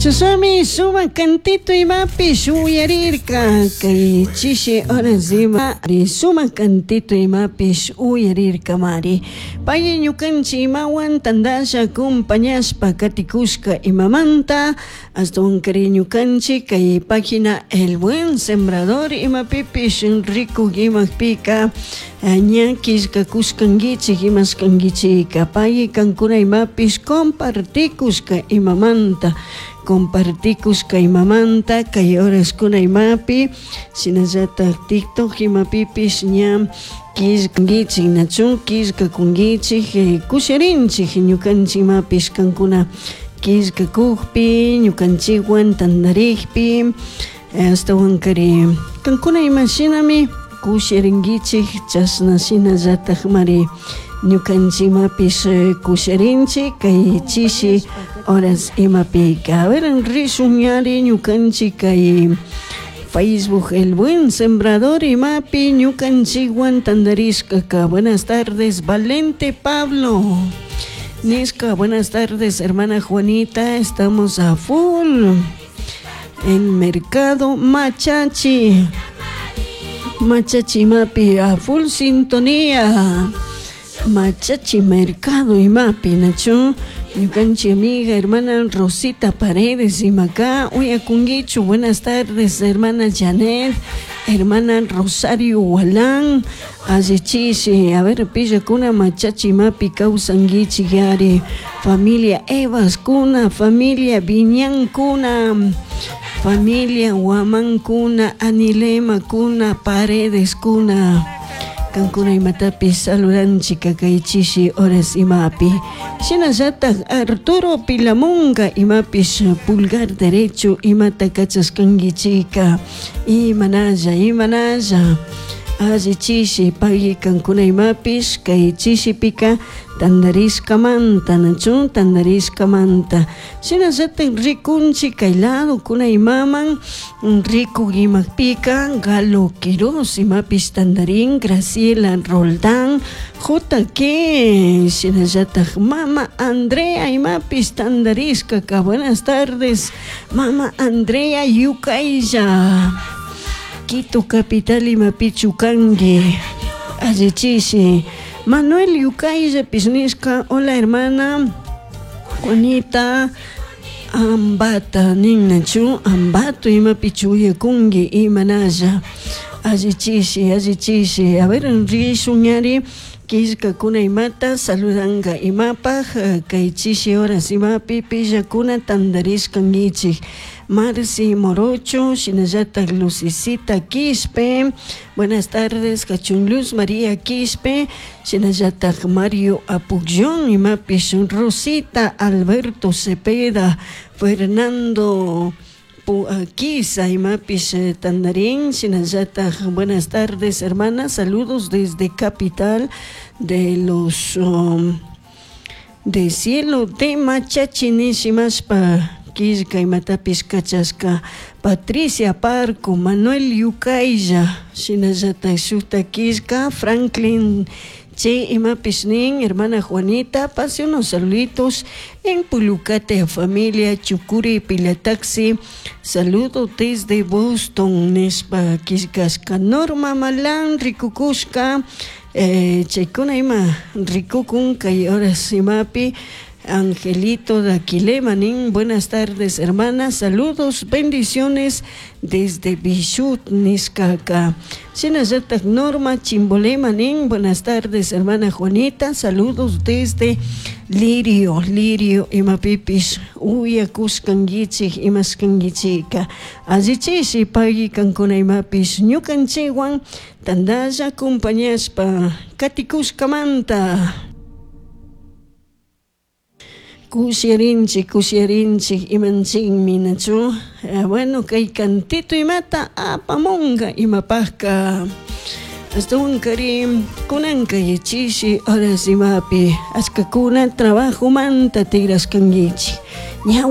Chashnami sumak cantito imapish uyarirka kay chishi horas ima sumak cantito imapish uyarirkamari. Pay ñukanchik imawan tandasha acompañashpa katikushka imamanta ashtawankari ñukanchik kay página El Buen Sembrador imapipish rikuk imapika ña killkakushkankichik imashkankichika pay kankuna imapish compartikushka imamanta compartikushka imamanta kay horaskuna imapi shinallatak TikTok imapipish ña killkankichik nachu killkakunkichik kushirinchik ñukanchik imapish kankuna killkakukpi ñukanchikwan tantarikpi ashtawankari kankuna imashinami kushirinkichik chashna shinallatakmari ñukanchik imapish kushirinchik kay chishi horas imapika. A ver, rishun ñari ñukanchik kay Facebook El Buen Sembrador imapi ñukanchikwan tantarishkaka. Buenas tardes, Valente Pablo. Nishka, buenas tardes, hermana Juanita, estamos a full en Mercado Machachi. Machachi imapi a full sintonía. Machachi Mercado imapi, nachu. Ñukanchik amiga, hermana Rosita Paredes imaka, uyakunkichu, buenas tardes, hermana Janet, hermana Rosario Walán, allichishi, a ver, pillakuna Machachi imapi kawsankichik yari, familia Evas kuna, familia Viñan kuna, familia Guamán kuna, Anilema kuna, Paredes kuna. Kankuna imatapish saludanchik kay chishi horas imapi. Shinallatak Arturo Pilamunga imapish pulgar derecho imata kachashkankichika. Imanalla, imanalla. Alli chishi pagui kankuna imapish kay chishipika tantarishkamanta, nachu tantarishkamanta. Shinallatak rikunchik kay lado kuna imaman rikuk imapika Galo Quiroz imapish tantarin, Graciela Roldán, JK, shinallatak mama Andrea imapish tantarishkaka. Buenas tardes, mama Andrea Yukaylla. Quito capital imapichu kanki. Alli chishi. Manuel Yukayllapish nishka, hola hermana Juanita Ambata ninnachu, Ambato imapichu uyakunki imanalla. Alli chishi, alli chishi. A ver, rishun ñari killkakuna imata saludanka imapaj kay chishi horas imapi pillakuna tantarishkankichik. Marci Morocho, shinallatak Lucicita Quispe, buenas tardes, Cachun Luz María Quispe, shinallatak Mario Apugyón, imapish Rosita Alberto Cepeda, Fernando Quisa, imapish tantarin, shinallatak buenas tardes, hermana, saludos desde capital de los de cielo de Machachi nishimashpa killka imatapish kachashka Patricia Parco, Manuel Yukaylla, shinallatak shukta killka Franklin Che imapish nin, hermana Juanita, pase unos saluditos en Pulucate, familia Chucuri Pilataxi, saludo desde Boston, nishpa killkashka Norma Malán, rikukushka, chaykuna ima rikukun kay horas imapi Angelito de Aquilema, nin, buenas tardes, hermana, saludos, bendiciones desde Bichut, nishkaka. Shinallatak Norma Chimbolema, nin, buenas tardes, hermana Juanita, saludos desde Lirio, Lirio, imapipish, uyakushkankichik, imashkankichika. Allichishi pagui kankuna imapish, ñukanchikwan tantalla acompañashpa katikushkamanta. Kushirinchik, kushirinchik, imanchikmi nachu. Bueno, kay cantito imata apamunga imapajka. Ashtawankari kunanka chishi horas imapi ashkakuna trabajomanta tigrashkankichik. Ña.